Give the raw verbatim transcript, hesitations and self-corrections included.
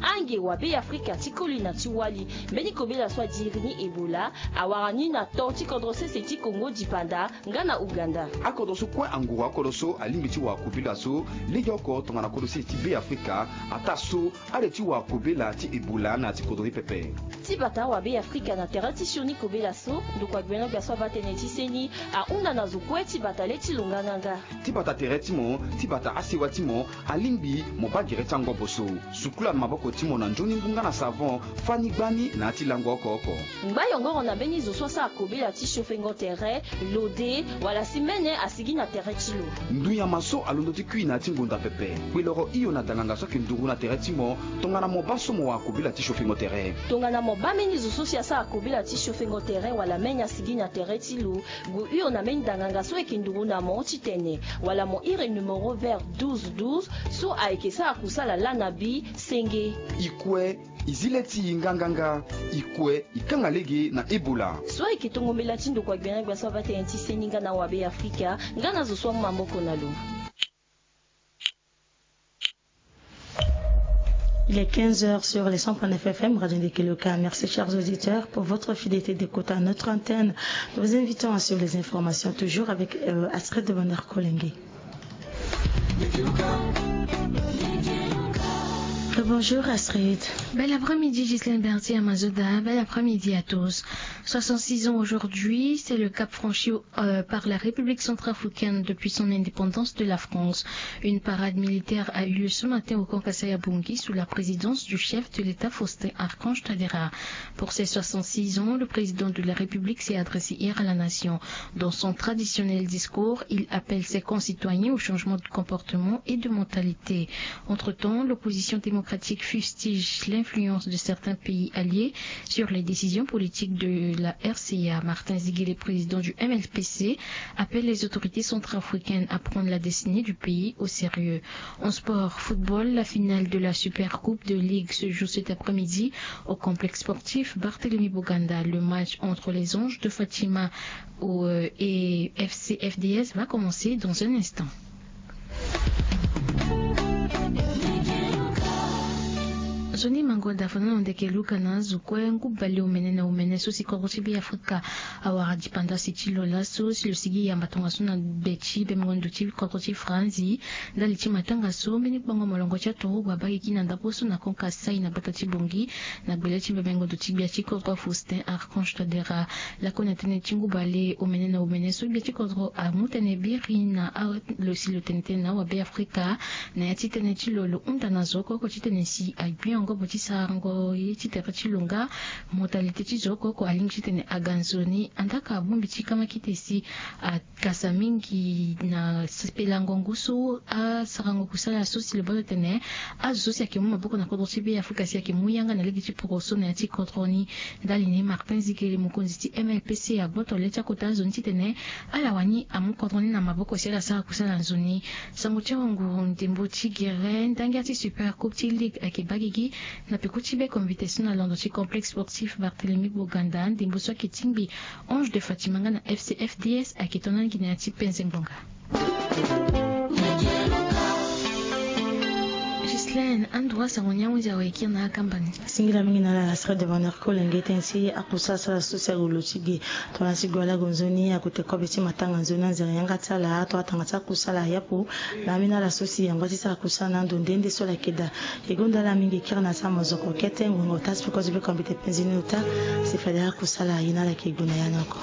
Ange wa Be Afrika ti koli na ti wali, mbeni kobela so adiri ni Ebola awara ni na to ti kodro sese ti Kongo dipanda nga na Uganda. Akodro so kue anguru akodro so alingbi ti wara kobela so legeoko tongana kodro sese ti Be Afrika, ataa so ale ti wara kobela ti Ebola na ya ti kodro ni pepe. Ti bata wa Be Afrika na tere ti sioni kobela so, ndokua gbia na gbia so abaa tënë ti seni ahunda na zo kue ti bata le ti lo nganganga. Ti bata tere ti mo, ti bata asewa ti mo, alingbi mo baa gere ti angobo so. Sukula maboko ti mo na nzoni ngu nga na savon, fâ ni gbani na ya ti lango oko oko. Ngba yongoro na mbeni zo so asara kobela ti siofengo tere, lode, wala si mene asigi na tere ti lo. Ndunyama so alondo ti kui na ya ti ngonda pepe, kpe loro hio na danganga so ayeke nduru na tere ti mo, tongana mo baa so mo wara kobela ti siofengo tere. Tongana mo baa mbeni zo so si asara kobela ti siofengo tere wala mene asigi na tere ti lo, gue hio na mbeni danganga so ayeke nduru na mo titene, wala mo iri numéro vert douze douze so ayeke sara kusala laa na bi senge. E kue, e zi le ti e nganganga. E kue, e kanga lege na Ebola. So ayeke tongo mbela ti ndokua gbia na gbia so abaa tënë ti seni nga na wa Be Afrika, nga na zo so amu maboko na lo. Il est quinze heures sur les cent point neuf F M, Radio Ndekeloka. Merci, chers auditeurs, pour votre fidélité d'écoute à notre antenne. Nous vous invitons à suivre les informations, toujours avec, euh, Astrid de Bonheur Kolenge. Bonjour, Astrid. Bel après-midi, Ghislaine Berthier Amazoda. Bel après-midi à tous. Soixante-six ans aujourd'hui, c'est le cap franchi, euh, par la République centrafricaine depuis son indépendance de la France. Une parade militaire a eu lieu ce matin au camp Kasai-Abongi sous la présidence du chef de l'État Faustin Archange Touadéra. Pour ses soixante-six ans, le président de la République s'est adressé hier à la nation. Dans son traditionnel discours, il appelle ses concitoyens au changement de comportement et de mentalité. Entre-temps, l'opposition démocratique fustige l'influence de certains pays alliés sur les décisions politiques de la R C A. Martin Ziguélé, président du M L P C, appelle les autorités centrafricaines à prendre la destinée du pays au sérieux. En sport, football, la finale de la Super Coupe de Ligue se joue cet après-midi au complexe sportif Barthélemy Boganda. Le match entre les Anges de Fatima au, euh, et F C F D S va commencer dans un instant. Nzoni mango da fana na ndeke luka na azo kue ngu bale omene na omene so si kodro ti Be Afrika awara dipanda si ti lo laso si lo sigi yamba tongaso na be ti bemengo ndo ti kodro ti Franzi. Ndali ti matanga so mbeni gbango molongo ti aturugu abagiki na ndapre so na kon Kasai na bata ti Bongi na gbele ti bemengo ndo ti gbia ti kodro Faustin Archange Touadéra. Lakue na tënë ti ngu bale omene na omene so gbia ti kodro amu tënë biri na a lo si lo tene tënë na awa Be Afrika na ya ti tënë ti lo lo hunda na zo oko oko titene si agbi angobo ti sarango ye ti tere ti lo nga. Mentalité ti zo oko oko alingbi titene aga nzoni andaa ka abongbi ti kama kite si akasa mingi na sepelango ngu so asarango kusala so si lo baa lo tene azo so si ayeke mu maboko na kodro ti Be Afrika si ayeke mu yanga na lege ti poroso na ya ti kodro ni. Ndali ni Martin Zikele, mokonzi ti M L P C, agboto le ti akota azo ni titene ala wani amu kodro ni na maboko si ala sara kusala nzoni. Sango ti awanguru ndembo ti gere ndangia ti Super Coupe ti Ligue ayeke baa gigi na peko ti be konvite so na londo ti complexe sportif Barthélemy Boganda. Ndembo so ayeke tingbi Ange de Fatima nga na F C F D S ayeke tonga na gi na ya ti penze ngbonga. Ghislaine, ando wa sango ni ahunzi awe kiri na akamba ni. Singila mingi na ala Astrid de Bonheur Kolenge tënë ti akusala sala so si ague lo ti ge. Tongana ti gue ala gue nzoni akute kobe ti matanga nzoni anzere yanga ti ala tongana tanga ti akusala ayapo. Na ambeni ala so si angba ti sara kusala na ando nde nde so ala yeke daa. E gonda ala mingi kiri na ti amozoko kete ngonga ota si peko ti be kombi te penzi ni ota. Si fade akusala aye na ala yeke gue na ya ni oko.